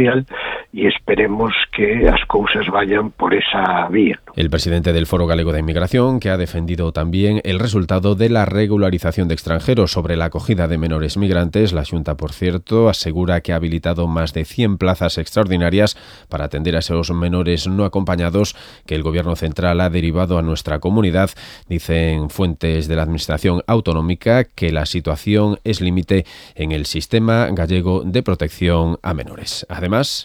social e esperemos que as cousas vayan por esa vía. El presidente del Foro Galego de Inmigración, que ha defendido también el resultado de la regularización de extranjeros sobre la acogida de menores migrantes. La Xunta, por cierto, asegura que ha habilitado más de 100 plazas extraordinarias para atender a esos menores no acompañados que el Gobierno central ha derivado a nuestra comunidad. Dicen fuentes de la Administración autonómica que la situación es límite en el sistema gallego de protección a menores. Además,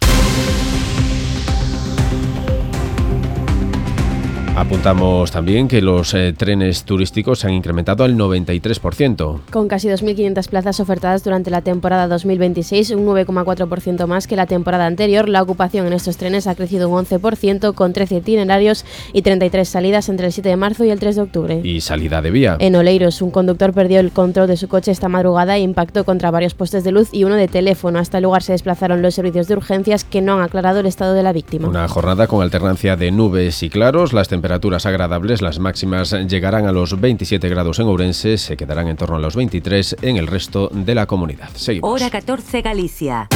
apuntamos también que los trenes turísticos se han incrementado al 93%. Con casi 2.500 plazas ofertadas durante la temporada 2026, un 9,4% más que la temporada anterior. La ocupación en estos trenes ha crecido un 11%, con 13 itinerarios y 33 salidas entre el 7 de marzo y el 3 de octubre. Y salida de vía. En Oleiros, un conductor perdió el control de su coche esta madrugada e impactó contra varios postes de luz y uno de teléfono. Hasta el lugar se desplazaron los servicios de urgencias, que no han aclarado el estado de la víctima. Una jornada con alternancia de nubes y claros. Las temperaturas agradables, las máximas llegarán a los 27 grados en Ourense, se quedarán en torno a los 23 en el resto de la comunidad. Seguimos. Hora 14 Galicia.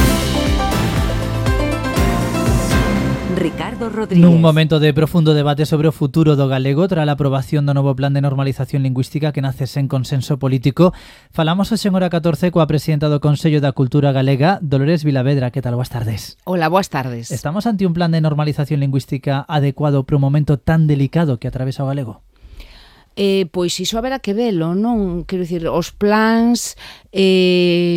Ricardo Rodríguez. Nun momento de profundo debate sobre o futuro do galego tras a aprobación do novo plan de normalización lingüística que nace sen consenso político, falamos hoxe en Hora 14 coa presidenta do Consello da Cultura Galega, Dolores Vilavedra. Que tal? Boas tardes. Hola, boas tardes. Estamos ante un plan de normalización lingüística adecuado para un momento tan delicado que atravesa o galego? Pois iso haberá que velo, non? Quero dicir, os plans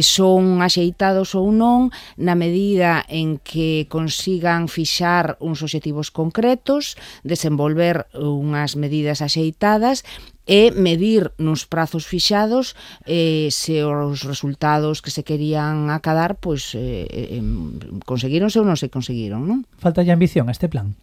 son axeitados ou non na medida en que consigan fixar uns obxectivos concretos, desenvolver unhas medidas axeitadas e medir nos prazos fixados se os resultados que se querían acadar pois conseguíronse ou non se conseguiron, non? Falta ya ambición a este plan?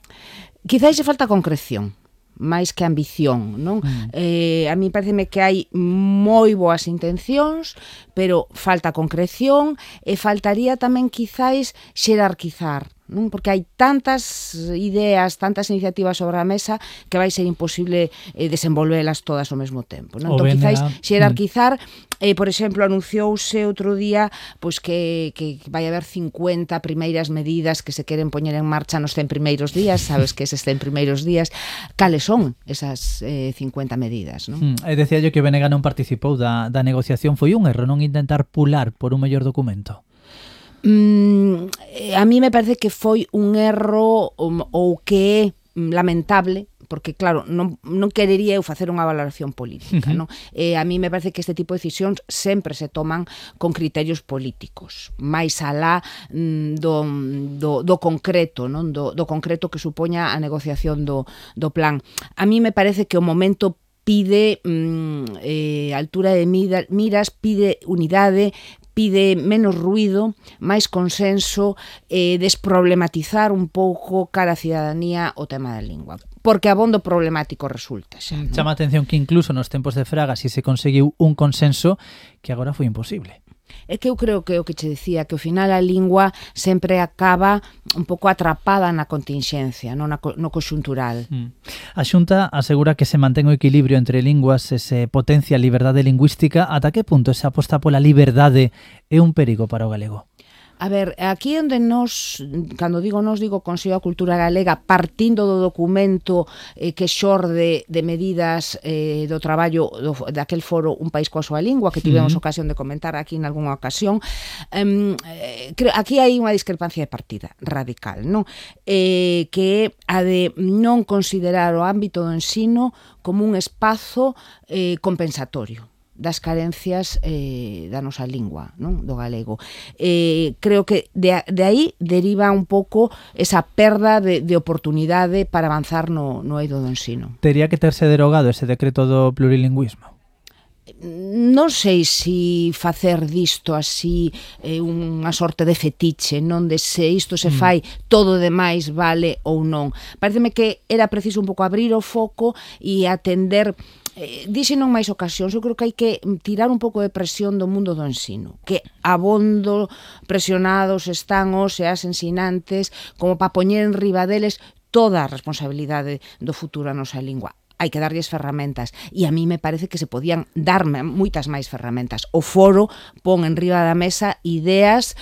Quizás se falta concreción máis que ambición, non? A mí pareceme que hai moi boas intencións, pero falta concreción e faltaría tamén quizás xerarquizar, non? Porque hai tantas ideas, tantas iniciativas sobre a mesa que vai ser imposible desenvolvelas todas ao mesmo tempo, non? Entón, quizás xerarquizar, por exemplo, anunciouse outro día pois que vai haber 50 primeiras medidas que se queren poñer en marcha nos 100 primeiros días, sabes que eses 100 primeiros días, cales son esas 50 medidas, non? Decía yo que Benega non participou da negociación. Foi un erro non intentar pular por un mellor documento? A mí me parece que foi un erro ou que é lamentable, porque claro, non querería eu facer unha valoración política, non? A mí me parece que este tipo de decisións sempre se toman con criterios políticos, máis alá do concreto, non? Do concreto que supoña a negociación do plan. A mí me parece que o momento pide altura de miras, pide unidade, pide menos ruido, máis consenso, desproblematizar un pouco cara a cidadanía o tema da lingua. Porque abondo problemático resulta xa, non? Chama a atención que incluso nos tempos de Fraga si se conseguiu un consenso que agora foi imposible. É que eu creo que o que che decía, que ao final a lingua sempre acaba un pouco atrapada na continxencia, no conxuntural. A Xunta asegura que se mantén o equilibrio entre linguas e se potencia a liberdade lingüística. Ata que punto se aposta pola liberdade é un perigo para o galego? A ver, aquí onde nos, cando digo Consello da Cultura Galega, partindo do documento que xorde de medidas do traballo daquel foro Un País coa súa lingua, que tivemos ocasión de comentar aquí en algunha ocasión, aquí hai unha discrepancia de partida radical, non? Que é a de non considerar o ámbito do ensino como un espazo compensatorio das carencias da nosa lingua, non? Do galego. Creo que de aí deriva un pouco esa perda de oportunidade para avanzar no eido do ensino. Tería que terse derogado ese decreto do plurilingüismo? Non sei se facer disto así unha sorte de fetiche, non de se isto se fai todo demais vale ou non. Pareceme que era preciso un pouco abrir o foco e atender. Dixen non máis ocasións, eu creo que hai que tirar un pouco de presión do mundo do ensino, que abondo presionados están os e as ensinantes como para poñer en riba deles toda a responsabilidade do futuro a nosa lingua. Hai que darlles ferramentas e a mí me parece que se podían darme moitas máis ferramentas. O foro pon en riba da mesa ideas